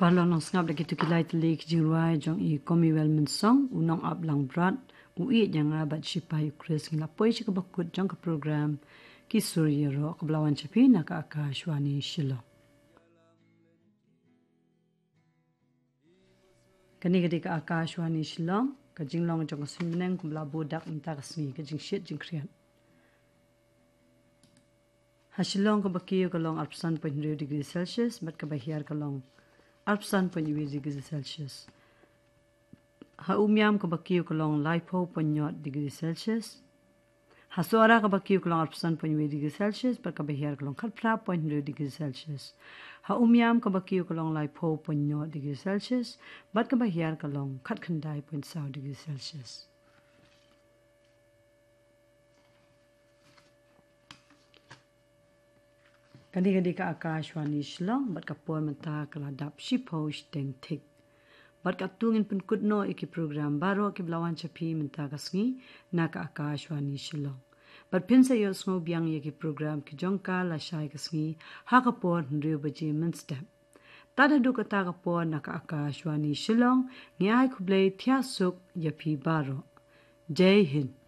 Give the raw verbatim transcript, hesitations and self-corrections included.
Paralok nongsngap, da kito ki lai tylli ki jingrwai jong i Komiwel Mynsong, u nongap Langbrot, u ïeit ïa nga bad shipai u Khrist, ngi la poi sha kaba kut jong ka program Ki Sur Ïaroh, kaba la wan sha phi na ka Akashvani Shillong. Kane ka dei ka Akashvani Shillong, ka jinglong jong ka suiñ bneng kumba la buh dak mynta ka sngi, ka jingshit jingkhriat. Ha Shillong kaba kiew ka long arphew san point hynriew degree Celsius, bad kaba hiar ka long arphew san point wei degree Celsius. Ha Umiam kaba kiew ka long laiphew point nod degree Celsius. Ha Sohra kaba kiew ka long arphew san point wei degree Celsius, bad kaba hiar ka long khatphra point hynriew degree Celsius. Ha Umiam kaba kiew ka long laiphew point nod degree Celsius, bad kaba hiar ka long khatkhyndai point saw degree Celsius. Kane ka dei ka Akashvani Shillong, bad ka por mynta ka la dap shiphew shiteng thik. Bad katto ngin pynkut noh ïa ki program baroh kiba la wan sha phi mynta ka sngi na ka Akashvani Shillong. Bad phin sa ïohsngew biang ïa ki program ki jong ka lashai ka sngi ha ka por hynriew baje mynstep. Tad haduh kata ka por na ka Akashvani Shillong, ngi ai khublei thiah suk ïa phi baroh. Jai Hind.